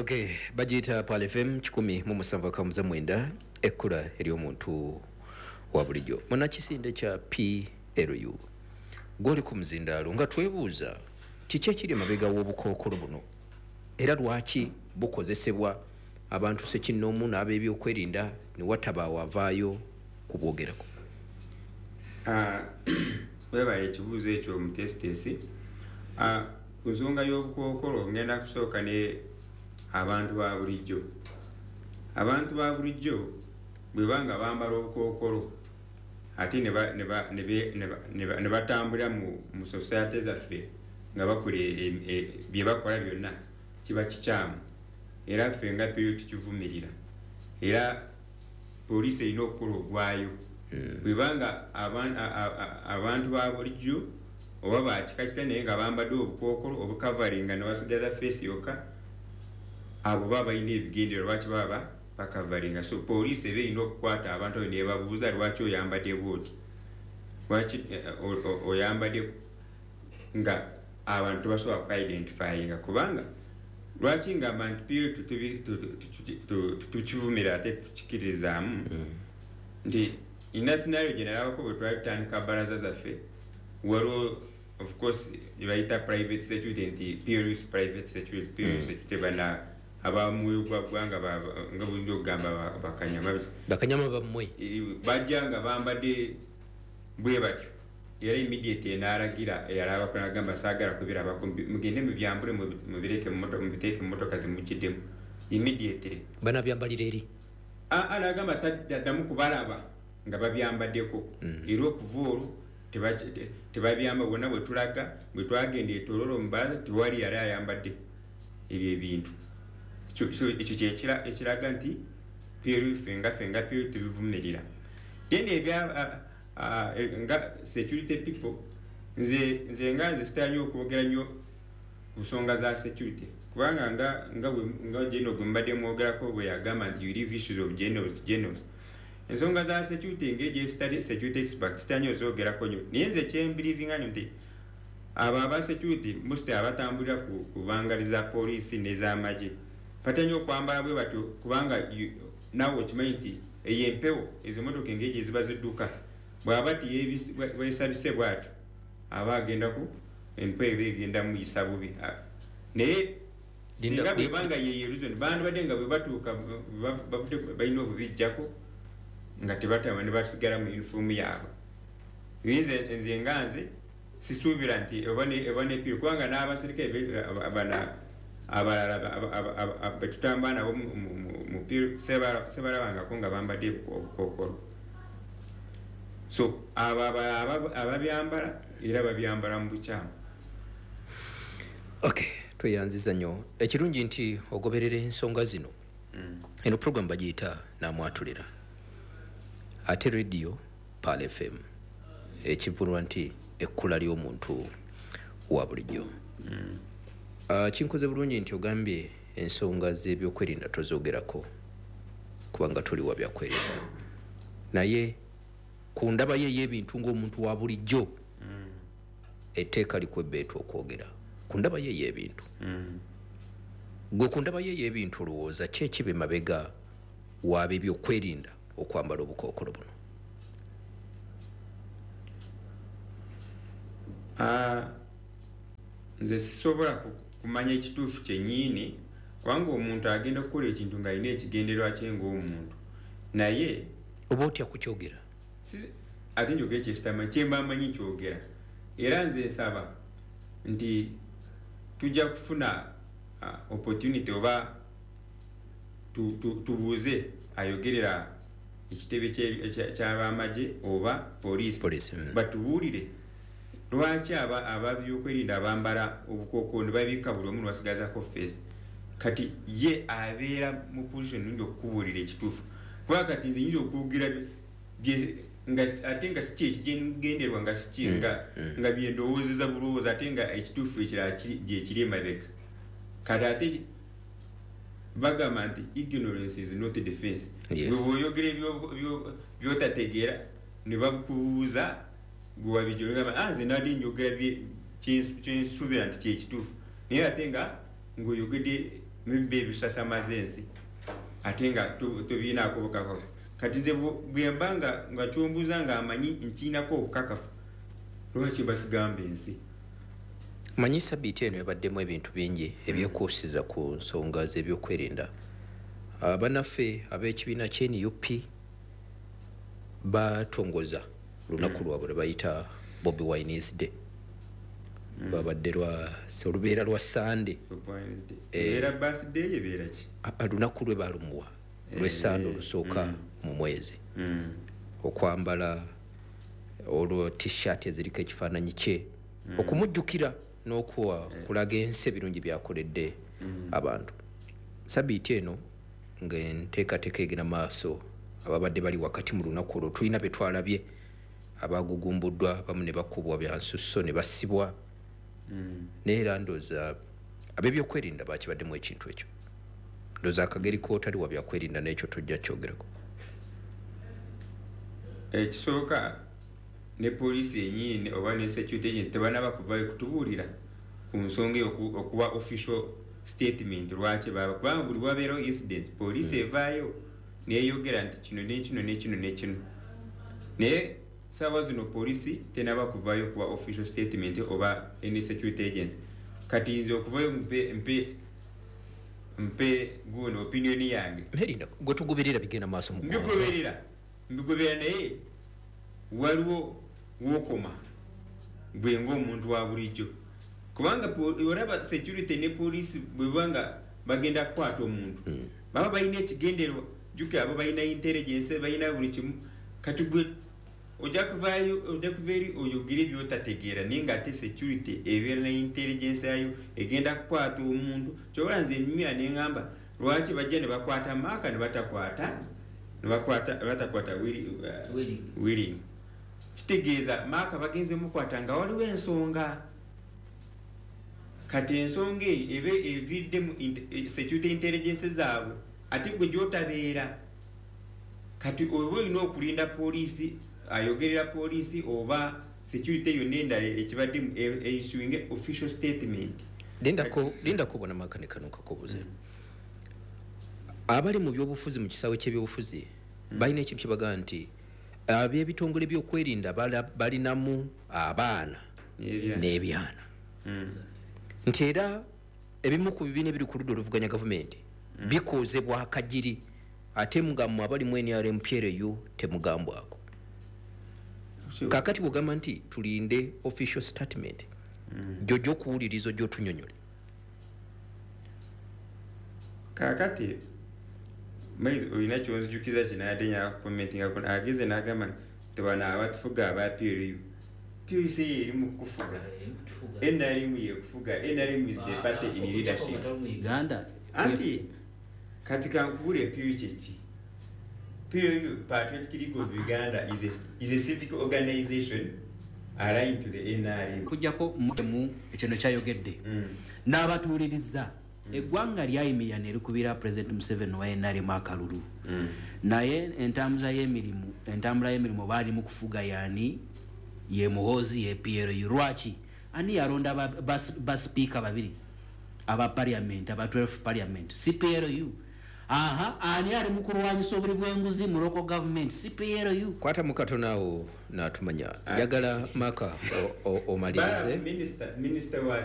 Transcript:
Okay, bagiyita Pearl FM 107.9, ekkula ery'omuntu wa bulijjo. Munakisinde kya PLU, gwoli ku muzindaalo nga twebuuza kiki ekiri emabega w'obukookolo buno, era lwaki bukozesebwa abantu sekinnoomu n'ab'ebyokwerinda ne watabaawo avaayo kubwogerako? Webale ekibuuzo ekyo, omutesitesi. Ku nsonga y'obukookolo, ngenda kusooka ne abantu ba bulijjo. Abantu ba bulijjo bwe banga bambala obukookolo ate ne batambulira mu society zaffe nga bakola bye bakola byonna, kiba kikyamu, era ffe nga PLU tukivumirira, era poliisi erina okukola ogwayo. Bwebanga abantu ba bulijjo oba bakika kita naye nga bambadde obukookolo obucoveringa ne basigaza face yokka, abo baba balina ebigendererwa lwaki baba bacoveringa. So poliisi eba erina okukwata abantu abo nebabuuza, "Lwaki oyambadde bwoti? Lwaki oyambadde nga abantu tebasobola kuidentifyinga?" Kubanga lwaki ngamba nti PLU tukivumira ate tukikirizaamu, nti ina scenario gye nalabako bwe twali tutandika baraza zaffe. Waliwo, of course, gye bayita private security, nti PLU's private security, PLU security, bana abamwoyo gwa ggwanga, nga buyinza okugamba bakanyama. Bakanyama bammwe. Bajja nga bambadde bwe batyo, era immediate n'alagira eyalabako nagamba, "Saagala kubirabako, mugende mubyambule, mubireke mubiteeke mu motoka zemugiddemu immediately." Banabyambalira eri. Nagamba taddamu kubalaba nga babyambaddeko. Era okuva olwo tebabyamba. Bwonna bwe tulaga, bwe twagenda eTororo mubalaza, tewali yali ayambadde ebyo ebintu. Ekyo kyekiraga nti PLU ffe nga PLU tubivumirira. Then ebya nga security people, nze nga nze sitera nnyo okwogera nnyo ku nsonga za security, kubanga nga general gwe mbadde mwogerako bwe yagamba nti you leave issues of generals to generals. Ensonga za security, engeri gyesitali security expert, sitera nnyo ozogerako nnyo, naye nze kyembelievinga nnyo nti abo aba security, most abatambulira ku bangali za poliisi n'ez'amagye, batera nnyo okwambala bwe batyo, kubanga naawe okimanyi nti eyo empewo, ezo motoka engeri gye ziba zidduka, bw'aba tiyebwesabise bwatyo, aba agenda ku empewo, eba egenda muyisa bubi. Naye singa bwebanga yeyo reason, bandibadde nga bwe batuuka bavudde balina obubijjako nga tebatama ne basigala mu uniform yaabwe. Nze nga nze sisuubira nti oba nepiro, kubanga n'abasirikale bana abalala betutambula nabo mupiiro sebalabangako nga bambadde obukookolo. So abo ababyambala era babyambala mu bukyamu. Okay, tweyanziza nnyo. Ekirungi nti ogoberera ensonga zino. Eno program bagiyita Namwatulira, ate radio Pearl FM, ekivunulwa nti ekkula ly'omuntu wa bulijjo. Kinkoze bulungi nti ogambye ensonga z'ebyokwerinda tozogerako kubanga toli wa byakwerinda, naye ku ndaba ye ey'ebintu ng'omuntu wa bulijjo, etteeka likwebbeetu okwogera ku ndaba ye ey'ebintu. Gwe ku ndaba ye ey'ebintu, olowooza ki ekiba emabega waaba ebyokwerinda okwambala obukookolo buno? Nze sisobola kumanya ekituufu kyenyiini, kubanga omuntu agenda okukola ekintu ng'alina ekigendererwa kye ng'omuntu, naye Oba otya kukyogera? Ate njogera kyesitama kyemba manyi kyogera. Era nze nsaba nti tujja kufuna opportunity oba tubuuze ayogerera ekitebe ky'abamagye oba poliisi, Poliisi. batubuulire lwaki ababyokwerinda bambala obukookolo ne babikka buli omu nebasigazako face. Kati ye abeera mu position nungi okukubuulira ekituufu, kuba kati nze nyinza okwogera ate nga si kyekigenderwa, nga siki nga byendowoozeza bulowooza, ate nga ekituufu ekirala gyekiri emabega. Kati ate bagamba nti ignorance is not defense. Bwe bwoyogera byotategeera ne bakubuuza gwe wabijogamba, "Ah, nze nadi njogera kyensuubira nti kyekituufu," naye ate nga ng'oyogedde Mbibe ebisasamaza ensi ate nga tobiinaako bukakafu. Kati nze bwemba nga kyombuuza nga amanyi nkiinako obukakafu, lwaki basigamba ensi? Manyi sabiiti eno ebaddemu ebintu bingi ebyekuusiza ku nsonga z'ebyokwerinda. Bannaffe ab'ekibiina kye NUP batongoza olunaku lwabwe lwe bayita Bobi Wine's Day. Lwabadde olubeera lwa Sande. Ebeera birthday, ebeera ki? Olunaku lwe balumuwa lw'Essande olusooka mu mwezi, okwambala olwo T-shirt eziriko ekifaananyi kye, okumujjukira n'okuwa kulaga ensi ebirungi byakoledde abantu. Sabiiti eno ng'enteekateeka egenda maaso, ababadde bali wakati mu lunaku olwo tulina be twalabye abagugumbuddwa, bamu ne bakubwa byansusso ne basibwa. Naye era ndowooza ab'ebyokwerinda bakibaddemu ekintu ekyo. Ndowooza akageri kootali wa byakwerinda n'ekyo tojja kyogerako. Ekisooka, ne poliisi yenyini oba ne security agency tebanaba kuvayo kutubuulira ku nsonga eyo, okuwa official statement lwaki baba, kubanga buli wabeerawo incident poliisi evaayo neyogera nti kino nekino nekino nekino. Naye saawa zino poliisi tenaba kuvayo kuwa official statement oba any security agency. Kati nze okuvayo mpe guno opinion yange. Merinda gwe tugoberera bigenda maaso mu ggwanga. Mbigoberera, naye waliwo wokoma gwe ng'omuntu wa bulijjo, kubanga olaba security ne poliisi bweba nga bagenda kukwata omuntu, baba balina ekigendererwa. Jjukira abo balina intelligence, balina buli kimu. Kati gwe ojja kuvaayo, ojja kuva eri oyogere byotategeera, naye nga ate security ebeera ne intelligence yayo egenda kukwata omuntu. Kyobola nze nyumira neŋŋamba lwaki bajja ne bakwata Maaka ne batakwata ne batakwata Willing. Willing. Kitegeeza Maaka bagenze mukwata nga waliwo ensonga. Kati ensonga eyo ebe evidde mu security intelligence zaabwe, ate gwe gyotabeera. Kati oba olina okulinda poliisi ayogerera poliisi oba security yonna endala ekibadde issuing official statement. Lindako bona makane kano kakobuze. Abali mu byobufuzi, mu kisaawe ky'ebyobufuzi, balina ekintu kyebagaa nti ab'ebitongole by'okwerinda balinamu abaana n'ebyana. N'ebyana. Nti era ebimu ku bibiina ebiri ku ludda oluvuganya gavumenti bikoozebwa akagiri, ate nga mmwe abali mu NRM PLU temugambwako. Kakati bwogamba nti tulinde official statement, gyojja okuwuliriza, ojja otunyonyole. Kakati olina kyonzijukiza kinadde nyakucommentingako, ageze n'agamba nti bano abatufuga aba PLU. PLU eri mu kufuga, NRM yekufuga. NRM is the party in leadership. Mu Uganda. Anti kati kankubule, PLU kyeki? PLU, Patriotic League of Uganda, is a civic organization aligned to the NRM. Kujjako mu ekyo kyayogedde n'abatuuliriza, eggwanga lyayimirira ne likubira President Museveni wa NRM akalulu, naye entambula y'emirimu baali mu kufuga yaani ye Muhoozi, ye PLU. Lwaki? Ani yalonda basipiika babiri aba parliament, aba 12 parliament? CPLU. Aha, ani ali mu kulwanyisa obuli bw'enguzi mu local government? CPLU. Kwata mu katono awo n'atumanya. Njagala Maka omalirize. Minister wa